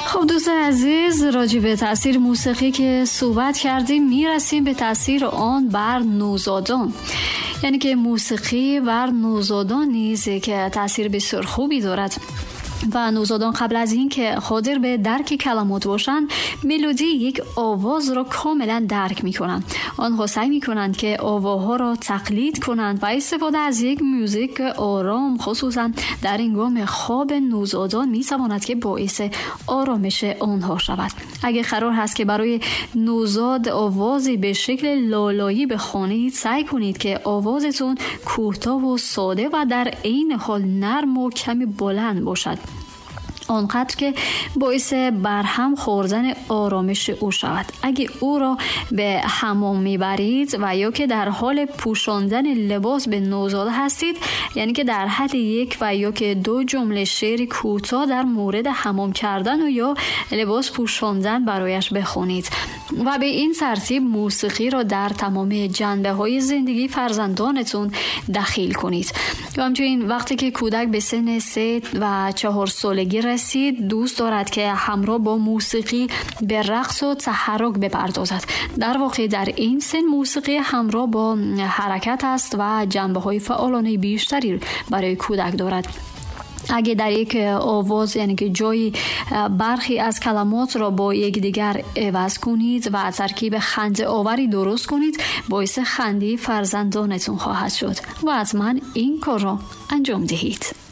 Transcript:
خب دوستان عزیز، راجع به تاثیر موسیقی که صحبت کردیم، میرسیم به تاثیر آن بر نوزادان. یعنی که موسیقی بر نوزادان نیز که تاثیر بسیار خوبی دارد و نوزادان قبل از اینکه قادر به درک کلمات باشند، ملودی یک آواز را کاملا درک میکنند. آنها سعی میکنند که آواها را تقلید کنند و استفاده از یک موزیک آرام خصوصا در هنگام خواب نوزادان میتواند که باعث آرامش آنها شود. اگه قرار هست که برای نوزاد آوازی به شکل لالایی بخوانید، سعی کنید که آوازتون کوتاه و ساده و در عین حال نرم و کمی بلند باشد، آنقدر که باعث برهم خوردن آرامش او شود. اگه او را به حمام میبرید و یا که در حال پوشاندن لباس به نوزاد هستید، یعنی که در حد یک و یا که دو جمله شعر کوتاه در مورد حمام کردن و یا لباس پوشاندن برایش بخونید و به این ترتیب موسیقی را در تمام جنبه های زندگی فرزندانتون دخیل کنید. و همچنین وقتی که کودک به سن 3 و 4 سالگی رسید، دوست دارد که همراه با موسیقی به رقص و تحرک بپردازد. در واقع در این سن موسیقی همراه با حرکت است و جنبه های فعالانه بیشتری برای کودک دارد. اگه در یک آواز، یعنی که جایی برخی از کلمات را با یکدیگر عوض کنید و ترکیب خنده آوری درست کنید، باعث خنده فرزندانتون خواهد شد و حتما این کار را انجام دهید.